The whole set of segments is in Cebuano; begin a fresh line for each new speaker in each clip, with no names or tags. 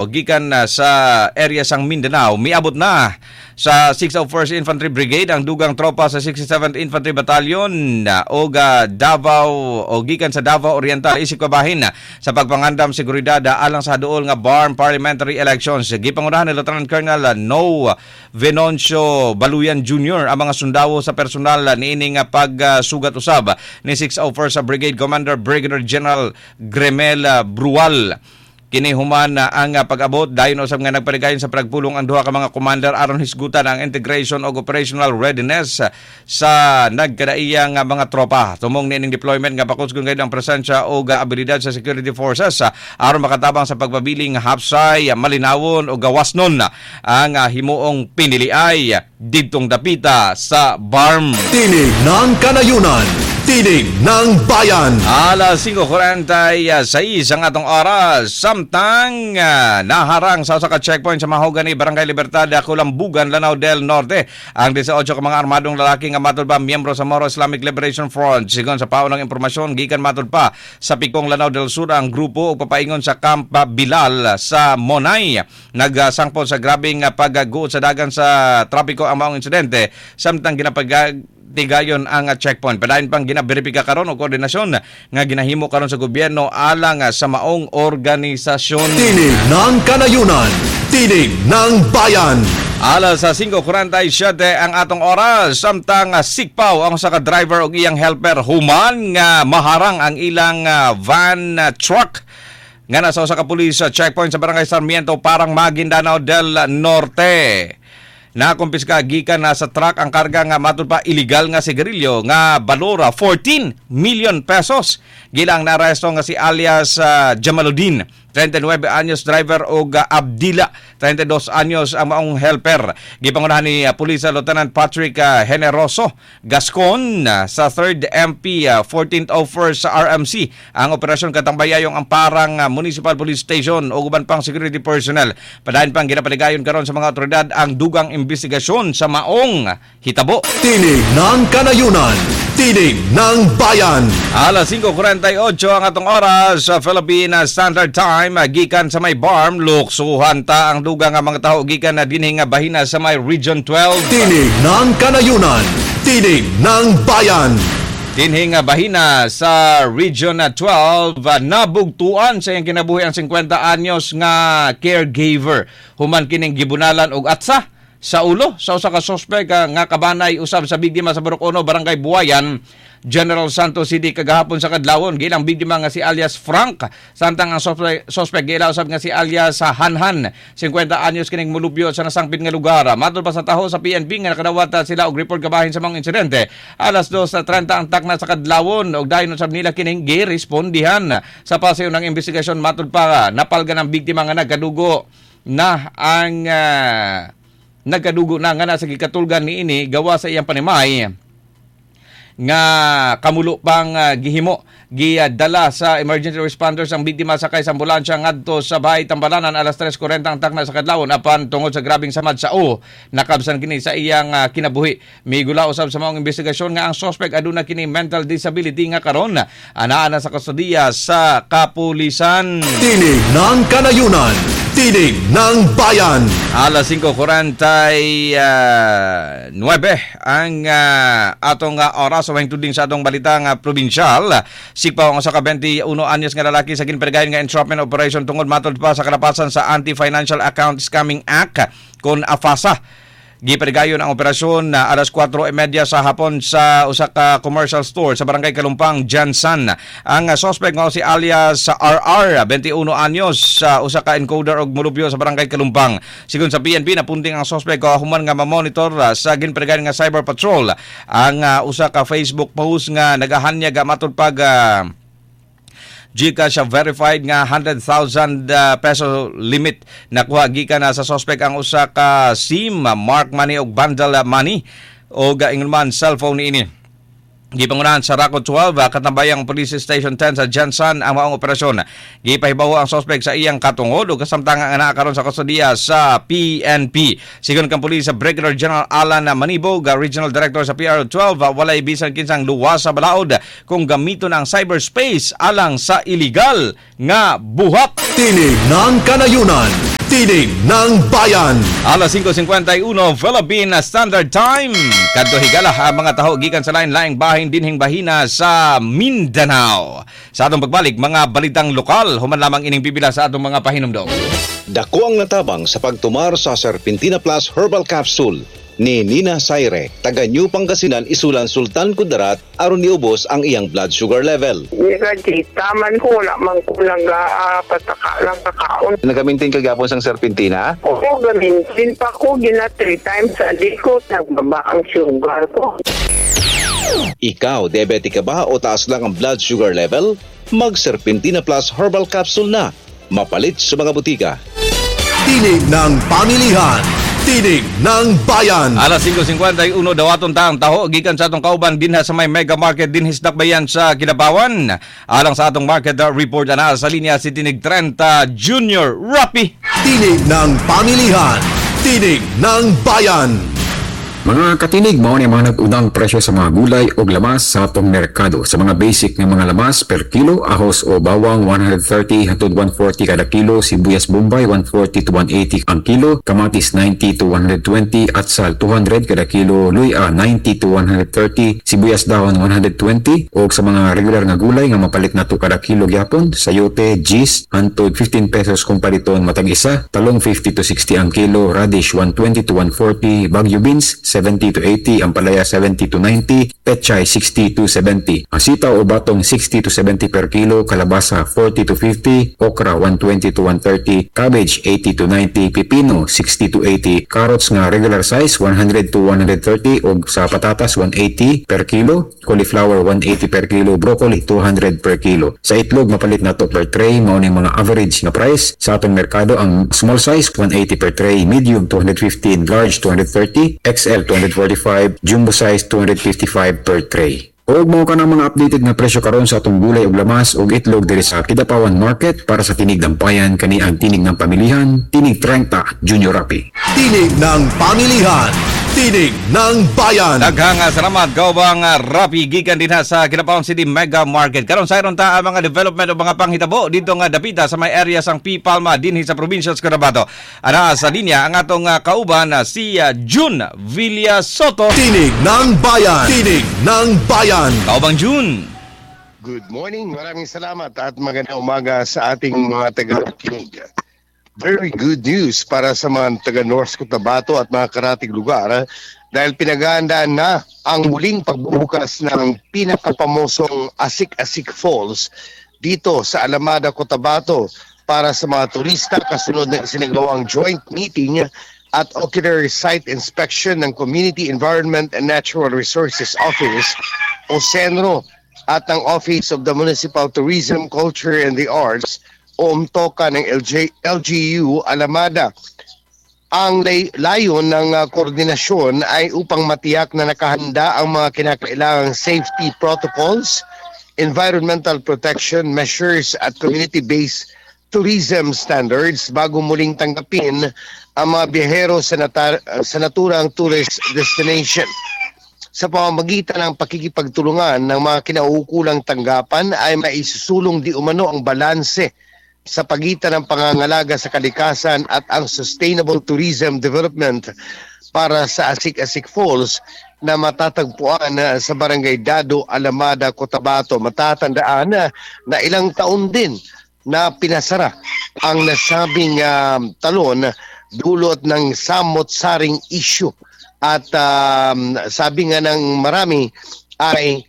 Gikan sa area sang Mindanao, miabot na sa 601st Infantry Brigade ang dugang tropa sa 67th Infantry Battalion og Davao o gikan sa Davao Oriental isip kabahin sa pagpangandam seguridad alang sa duol nga BARMM parliamentary elections. Gipangunahan ni Lieutenant Colonel No Venoncio Baluyan Jr. ang mga sundalo sa personal niini nga pagsugat usab ni 601st Brigade Commander Brigadier General Gremel Brual. Kini human na ang pag-abot dayon usab nga nagpaligayon sa pagpulong ang duha ka mga commander aron hisgutan ang integration og operational readiness sa nagkadaiyang nga mga tropa. Tumong niining deployment nga pakusgon gayud ang presensya og abilidad sa security forces aron makatabang sa pagpabiling hapsay, malinawon o gawasnon ang himuong piniliay didtong dapita sa BARMM.
Tinig ng Kanayunan. Tinig ng Bayan.
Alas 5:46 ang atong oras. Samtang naharang sa usa ka checkpoint sa Mahogany, Barangay Libertad, Kulambugan, Lanao del Norte, ang 18 ka mga armadong lalaki nga matud pa miyembro sa Moro Islamic Liberation Front. Sigon sa paunang impormasyon, gikan matud pa sa Pikong, Lanao del Sur ang grupo ug papaingon sa Camp Bilal sa Monay. Nagsangpot sa grabeng pagguot sa dagan sa trapiko ang maong insidente samtang ginapag tigayon ang checkpoint. Padayon pang ginaberipika karon og koordinasyon nga ginahimo karon sa gobyerno alang sa maong organisasyon.
Tinig ng Kanayunan. Tinig ng Bayan.
Alas sa 5:47 ang atong oras, samtang sikpaw ang usa ka driver og iyang helper human nga maharang ang ilang van truck nga nasa usa ka pulis checkpoint sa Barangay Sarmiento, Parang, Maguindanao del Norte. Nakumpiska gikan na sa truck ang karga nga matud pa illegal nga sigarilyo nga balora 14 million pesos. Gilang naaresto nga si alias Jamaluddin, 39 anyos, driver og Abdila, 32 anyos, ang maong helper. Gipangunahan ni Police Lieutenant Patrick Generoso Gascon sa 3rd MP 1401 sa RMC ang operasyon, katambayayong ang Parang Municipal Police Station ug uban pang security personnel. Padayon pang ginapaligayon karon sa mga otoridad ang dugang investigasyon sa maong hitabo.
Tinig ng Kanayunan. Tinig ng Bayan.
Alas 5:48 ang atong oras sa Philippine Standard Time, gikan sa may BARMM, luksuhan ta ang dugang nga mga tawo gikan na dinhi nga bahina sa may Region 12.
Tinig ng Kanayunan. Tinig ng Bayan.
Dinhi nga bahina sa Region 12, nabugtuan sa iyang kinabuhi ang 50 anyos nga caregiver human kining gibunalan og atsa sa ulo sa usa ka suspect nga kabanay usab sa biktima sa Barok Uno, Barangay Buayan, General Santos City kagahapon sa kadlawon. Gilang biktima nga si alias Frank, samtang ang suspect giila usab nga si alias Hanhan, 50 anyos kining mulupyo sa nasangpit nga lugar. Matod pa sa taho sa PNP nga nakadawat sila og report kabahin sa mga insidente alas 2:30 ang takna sa kadlawon og dayon usab nila kining girespondihan. Sa paseo ng investigasyon, matod pa napalgan ang biktima nga nagkadugo na nga nasa gikatulgan niini gawa sa iyang panimay nga kamulo pang gihimo. Gidala sa emergency responders ang biktima sakay sa ambulansya ngadto sa bahay Tambalanan alas 3:40 ang takna sa kadlawon, apan tungod sa grabeng samad sa o nakabsan kini sa iyang kinabuhi. Migula usab sa maong investigasyon nga ang suspect aduna kini mental disability nga karon anaa na sa kustodiya sa kapulisan.
Tinig ng Kanayunan. Tinig ng Bayan.
Alas 5:49 ang atong oras sa tuding sa atong balitang probinsyal. Sikpaw ang usa ka 21 anyos nga lalaki sa ginperigayon nga entrapment operation tungod matod pa sa kalapasan sa Anti-Financial Account Scamming Act kon AFASA. Giparigayon ang operasyon na alas 4:30 sa hapon sa usa ka commercial store sa Barangay Kalumpang, Jansan. Ang suspect nga si alias RR, 21 anyos, sa usa ka encoder og mulupyo sa Barangay Kalumpang. Sigon sa PNP, napunting ang suspect human nga mamonitor sa ginparigayon nga cyber patrol ang usa ka Facebook post nga nagahanyag matud pag GCash verified nga 100,000 peso limit. Nakuha gikan na sa suspect ang usa ka SIM, Mark Money og bundle money og ingon man cellphone niini. Gipangunahan sa Rako 12, Katambayang Police Station 10 sa GenSan ang maong operasyon. Gipahibawo ang suspect sa iyang katungod ug kasamtang ang anaa karon sa kustodiya sa PNP. Sigon kang pulis sa Brigadier General Alan Manibog, Regional Director sa PRO 12, walay bisan kinsang luwas sa balaod kung gamiton ang cyberspace alang sa illegal nga buhat.
Tinig ng Kanayunan. Tinig ng Bayan.
Alas 5:51 Philippine Standard Time. Kadto higala ang mga taho gikan sa lain-laing bahin dinhing bahina sa Mindanao. Sa atong pagbalik, mga balitang lokal, human lamang ining pipila sa atong mga pahinumdom.
Dako ang natabang sa pagtumar sa Serpentina Plus Herbal Capsule ni Nina Saire, taga New Pangasinan, Isulan, Sultan Kudarat, aron niubos ang iyang blood sugar level.
Kita man ko, wala man ko lang pataka lang kakaon.
Nagamintin ka gapon sang Serpentina?
Oo, gamitin pa ko, gina three times a day ko, nagbaba ang sugar ko.
Ikaw, diabetic ka ba o taas lang ang blood sugar level? Mag Serpentina Plus Herbal Capsule na. Mapalit sa mga butika.
Tinig ng Pamilihan. Tinig ng Bayan.
Alas 5:51, dawaton ta ang taho gikan sa atong kauban dinha sa may Mega Market dinhi sa Dakbayan sa Kidapawan. Alang sa atong market report, ana sa linya si Tinig 30 Junior Rapi.
Tinig ng Pamilihan. Tinig ng Bayan.
Mga katinig, mao ni mga nag-unang presyo sa mga gulay o lamas sa atong merkado. Sa mga basic nga mga lamas per kilo, ahos o bawang 130 hangtod 140 kada kilo, sibuyas Bombay 140 to 180 ang kilo, kamatis 90 to 120, atsal 200 kada kilo, luya 90 to 130, sibuyas dahon 120, o sa mga regular nga gulay nga mapalit nato kada kilo gyapon, sayote, gis hangtod 15 pesos kung paliton matag isa, talong 50 to 60 ang kilo, radish 120 to 140, Baguio beans 70 to 80, ampalaya 70 to 90, pechay 60 to 70. Ang sitaw o batong 60 to 70 per kilo, kalabasa 40 to 50, okra 120 to 130, cabbage 80 to 90, pipino 60 to 80, carrots nga regular size 100 to 130 og sa patatas 180 per kilo, cauliflower 180 per kilo, broccoli 200 per kilo. Sa itlog mapalit na to per tray, mao ning mga average nga price sa atong merkado. Ang small size 180 per tray, medium 215, large 230, XL 245, jumbo size 255 per tray. Og mao ka ng mga updated nga presyo karon sa atong gulay ug lamas ug itlog diri sa Kidapawan Market. Para sa Tinig ng Bayan, kani ang tinig ng pamilihan, Tinig 30 Junior Rapi.
Tinig ng Pamilihan. Tinig ng Bayan.
Daghang salamat, kaubang Rapi, gikan dinha sa Kidapawan City Mega Market. Karon sayron ta ang mga development o mga panghitabo dito nga dapita sa may area sang P. Palma dinhi sa probinsya sa Cotabato. Ana sa linya ang atong kauban si June Villa Soto.
Tinig ng Bayan. Tinig ng Bayan.
Kaubang June.
Good morning. Maraming salamat at magandang umaga sa ating mga taga-kinig. Very good news para sa mga taga North Cotabato at mga karatig lugar dahil pinaghahandaan na ang muling pagbubukas ng pinakapamosong Asik-Asik Falls dito sa Alamada, Cotabato para sa mga turista kasunod ng isinagawang joint meeting at ocular site inspection ng Community Environment and Natural Resources Office o CENRO at ng Office of the Municipal Tourism, Culture and the Arts o UMTOCA ng LGU Alamada. Ang layon ng koordinasyon ay upang matiyak na nakahanda ang mga kinakailangang safety protocols, environmental protection measures at community-based tourism standards bago muling tanggapin ang mga biyahero sa naturang tourist destination. Sa pamamagitan ng pakikipagtulungan ng mga kinauukulang tanggapan ay maisusulong di umano ang balanse sa pagitan ng pangangalaga sa kalikasan at ang sustainable tourism development para sa Asik-Asik Falls na matatagpuan sa Barangay Dado, Alamada, Cotabato. Matatandaan na ilang taon din na pinasara ang nasabing talon dulot ng samot-saring issue. At sabi nga ng marami ay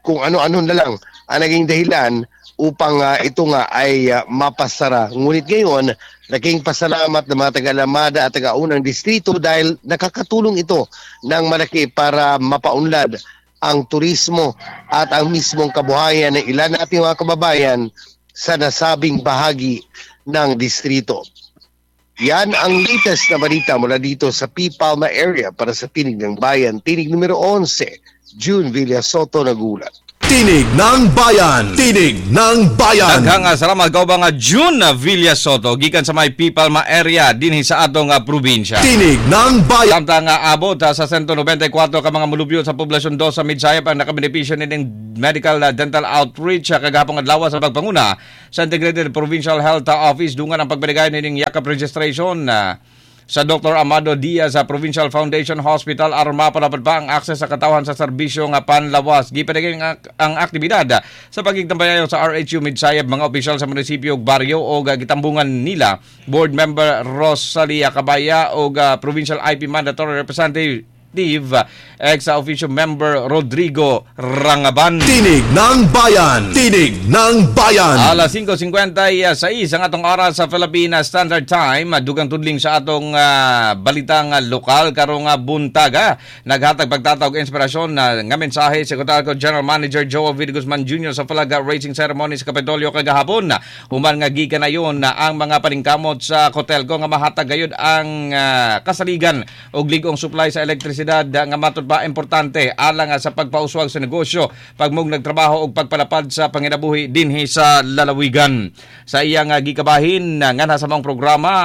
kung ano-ano na lang ang naging dahilan upang ito nga ay mapasara. Ngunit ngayon, laking pasalamat ng mga taga-Alamada at taga-unang distrito dahil nakakatulong ito ng malaki para mapaunlad ang turismo at ang mismong kabuhayan ng ilan nating mga kababayan sa nasabing bahagi ng distrito. Yan ang latest na balita mula dito sa P. Palma area para sa Tinig ng Bayan, Tinig numero 11, June Villasoto nagulat.
Tinig ng Bayan! Tinig ng Bayan!
Daghang salamat kaubang June Villasoto gikan sa may Pipalma area dinhi sa atong probinsya.
Tinig ng Bayan!
Samtang abot sa 194 ka mga mulupyo sa poblasyon 2 sa Midsayap ang nakabenepisyo nining medical dental outreach kagahapon adlaw sa pagpanguna sa Integrated Provincial Health Office dungan ang pagbanigay nining yakap registration sa Dr. Amado Diaz sa Provincial Foundation Hospital aron mapalapad pa ang akses sa katawhan sa serbisyo nga panlawas. Gipadagay ang aktibidad sa pagigtambayayo sa RHU Midsayap mga opisyal sa munisipyo ug baryo og gitambungan nila Board Member Rosalia Cabaya og Provincial IP Mandatory Representative ex-officio member Rodrigo Rangaban.
Tinig ng Bayan! Tinig ng Bayan!
Alas 5:56 ang atong oras sa Philippine Standard Time. Dugang tudling sa atong balitang lokal karong buntaga. Naghatag pagtatawag inspirasyon nga mensahe si Cotalco General Manager Joel V. Guzman Jr. sa flag raising ceremony sa Kapitolyo kagahapon. Human nga gikan na yun ang mga paningkamot sa Cotelco nga mahatag gayud ang kasaligan og lig-ong supply sa elektrisidad nga matud pa importante alang sa pagpauswag sa negosyo, pagmug nagtrabaho og pagpalapad sa panginabuhi dinhi sa lalawigan. Sa iyang gikabahin nganha sa maong programa,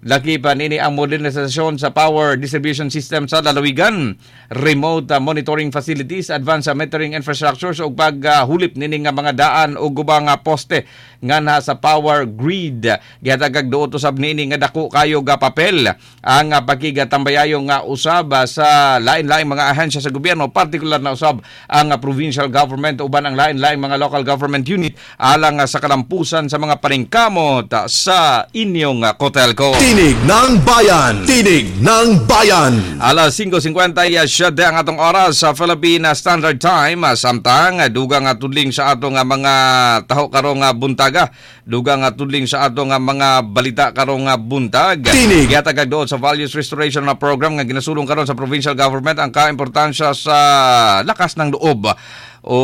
laki pa nini ang modernisasyon sa power distribution system sa lalawigan, remote monitoring facilities, advanced metering infrastructures ug paghulip nini nga mga daan ug ubang poste nganha sa power grid. Gihatag duot usab niini nga dako kayo ga papel ang pakigatambayayo nga usab sa lain-laing mga ahensya sa gobyerno, partikular na usab ang provincial government uban ang lain-laing mga local government unit alang sa kalampusan sa mga paningkamot sa inyong Cotelco.
Tinig ng Bayan! Tinig ng Bayan!
Alas 5:57 ang atong oras sa Philippine Standard Time. Samtang dugang tudling sa atong mga taho karong buntag. Dugang tudling sa atong mga balita karong buntag.
Tinig!
Gihatag doon sa Values Restoration na program nga ginasulong karon sa provincial government ang kaimportansya sa lakas ng loob o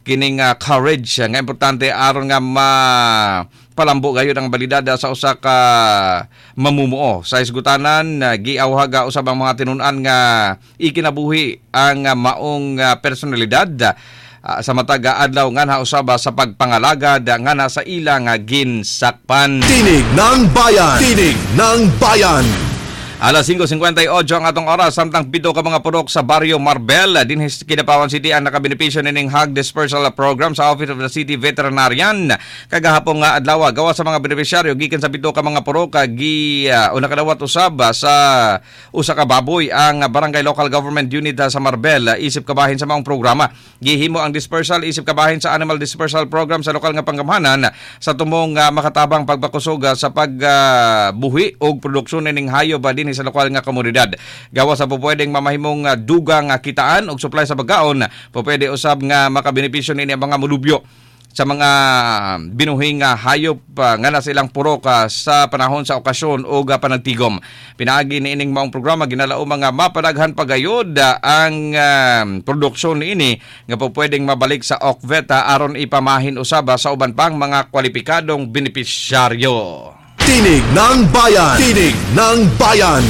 kining courage nga importante aron nga ma palambo gayud ang balidada sa usa ka mamumuo. Sa isgutanan, giawhaga usab ang mga tinun-an nga ikinabuhi ang maong personalidad sa matag adlaw nganha usab sa pagpangalagad nganha sa ilang ginsakpan.
Tinig ng Bayan! Tinig ng Bayan!
Alas 5:58 ang atong oras, samtang 7 ka mga purok sa Barrio Marbel dinhi sa Kidapawan City ang nakabenepisyo nining hog dispersal program sa Office of the City Veterinarian kagahapon nga adlaw. Gawa sa mga benepisyaryo gikan sa 7 ka mga purok gi una kadawat usab sa usa ka baboy ang Barangay Local Government Unit sa Marbel isip kabahin sa maong programa. Gihimo ang dispersal isip kabahin sa animal dispersal program sa lokal nga panggamhanan sa tumong makatabang pagpakusog sa pagbuhi og produksyon nining hayop dinhi sa lokal nga komunidad. Gawa sa pupwedeng mamahimong dugang kitaan og supply sa pagkaon, pupwede usab nga makabenepisyo nini ang mga mulubyo sa mga binuhing hayop nga nasa ilang purok sa panahon sa okasyon o panagtigom. Pinaagi niining maong programa ginalao mga mapadaghan pagayod ang produksyon niini nga pupwedeng mabalik sa OCVETA aron ipamahin usab sa uban pang mga kwalipikadong benepisyaryo.
Tinig ng Bayan! Tinig ng Bayan!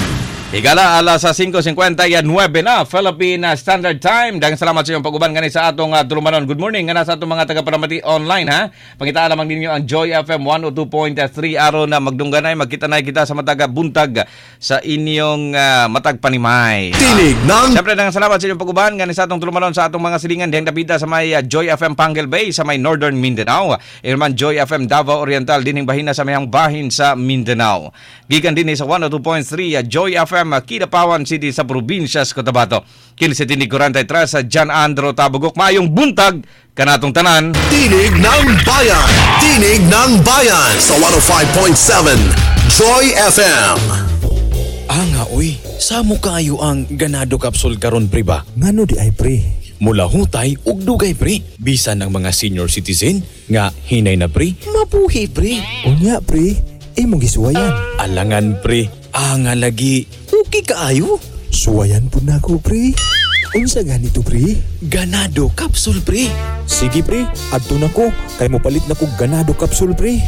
Higala, alas 5:59 na Philippine Standard Time. Daghang salamat sa iyong pag-uban gani sa atong tulumanon. Good morning nga sa atong mga tagaparamati online ha. Pangitaan lamang ninyo ang Joy FM 102.3 aron na magdungganay, magkita na kita sa matag buntag sa inyong matag panimay.
Tinig ng
Siyempre, daghang salamat sa inyong pag-uban gani sa atong tulumanon sa atong mga silingan dihang dapita sa may Joy FM Panguil Bay sa may Northern Mindanao. Irman Joy FM Davao Oriental dinhing bahina sa mayang bahin sa Mindanao. Gikan dinhi sa 102.3 Joy FM Kidapawan City sa probinsya sa Cotabato. Kini sa Tinig 43 sa John Andro Tabugok. Maayong buntag kanatong tanan.
Tinig ng Bayan! Tinig ng Bayan sa 105.7 Joy FM.
Anga oy, samo kaayo ang Ganado Capsule karon pre ba?
Ngano di ay pre?
Mula hutay ug dugay pre. Bisan ang mga senior citizen nga hinay na pre, mabuhi pre.
Unya pre, imong gisuwayan.
Alangan pre, anga lagi. Okay kaayo.
Suwayan pud nako pre. Unsa ganito pre?
Ganado Capsule pre.
Sige pre, adto nako kay mopalit na kog Ganado Capsule pre.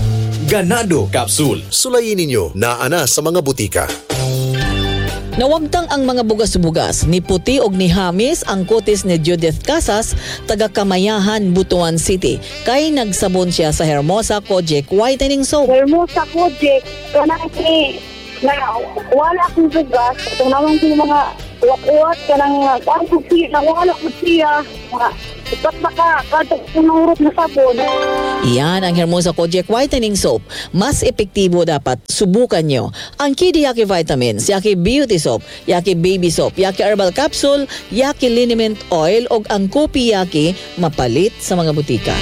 Ganado Capsule.
Sulayin ninyo naa na sa mga butika.
Nawagtang ang mga bugas-bugas, ni puti og ni hamis ang kutis ni Judith Casas, taga Kamayahan, Butuan City. Kay nagsabon siya sa Hermosa Kojic Whitening Soap.
Hermosa Kojic, kanang na wala akong bugas, itong naman ko mga uwat-uwat, kanang kuan ko siya, nawala ko siya, mga ipat na ka, kada punurot na sabon.
Iyan ang Hermosa Kojic Whitening Soap. Mas epektibo dapat, subukan nyo. Ang Kidi Yaki Vitamins, Yaki Beauty Soap, Yaki Baby Soap, Yaki Herbal Capsule, Yaki Liniment Oil, o ang Kopi Yaki mapalit sa mga butika.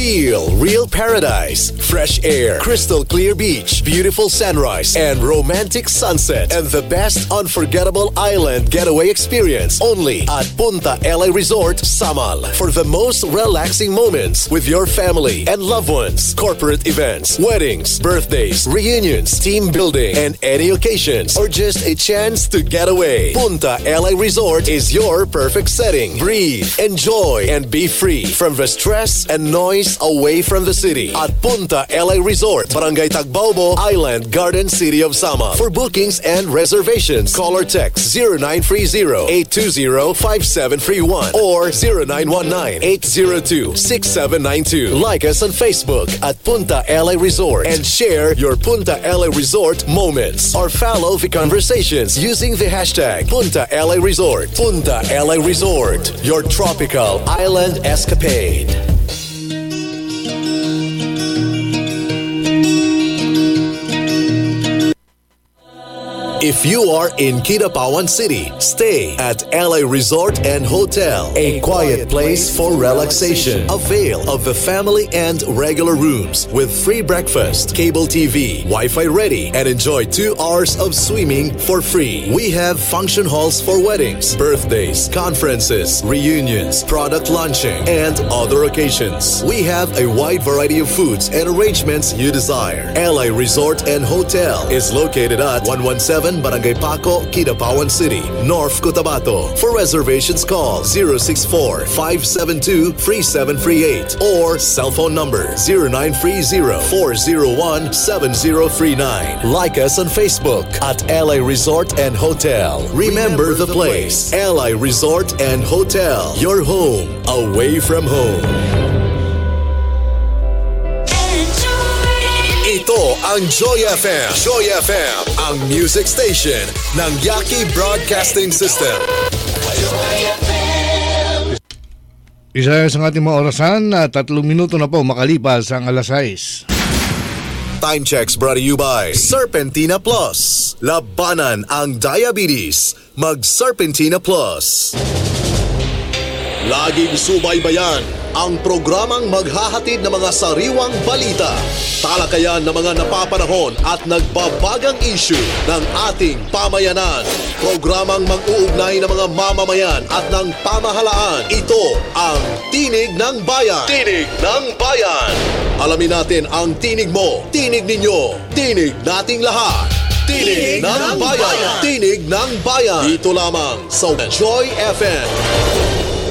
Feel real paradise, fresh air, crystal clear beach, beautiful sunrise, and romantic sunset, and the best unforgettable island getaway experience only at Punta LA Resort, Samal. For the most relaxing moments with your family and loved ones, corporate events, weddings, birthdays, reunions, team building, and any occasions, or just a chance to get away. Punta LA Resort is your perfect setting. Breathe, enjoy, and be free from the stress and noise away from the city at Punta LA Resort, Barangay Tagbaobo, Island Garden City of Samal. For bookings and reservations, call or text 0930-820-5731 or 0919-802-6792. Like us on Facebook at Punta LA Resort and share your Punta LA Resort moments or follow the conversations using the hashtag Punta LA Resort. Punta LA Resort, your tropical island escapade. If you are in Kidapawan City, stay at LA Resort and Hotel, a quiet place for relaxation. Avail of the family and regular rooms with free breakfast, cable TV, Wi-Fi ready, and enjoy 2 hours of swimming for free. We have function halls for weddings, birthdays, conferences, reunions, product launching, and other occasions. We have a wide variety of foods and arrangements you desire. LA Resort and Hotel is located at 117 Barangay Paco, Kidapawan City, North Cotabato. For reservations, call 064-572-3738 or cell phone number 0930-401-7039. Like us on Facebook at LA Resort and Hotel. Remember the place, LA Resort and Hotel, your home away from home. Ito ang Joy FM. Joy FM, ang music station ng Yaki Broadcasting System.
Isa sa ating mga orasan, 3 minuto na po makalipas ang 6:00.
Time checks brought to you by Serpentina Plus. Labanan ang diabetes. Mag Serpentina Plus. Laging subaybayan ang programang maghahatid ng mga sariwang balita, talakayan ng mga napapanahon at nagbabagang issue ng ating pamayanan. Programang mag-uugnay ng mga mamamayan at ng pamahalaan. Ito ang Tinig ng Bayan. Tinig ng Bayan. Alamin natin ang tinig mo, tinig ninyo, tinig nating lahat. Tinig ng Bayan. Tinig ng Bayan. Dito lamang sa Joy FM.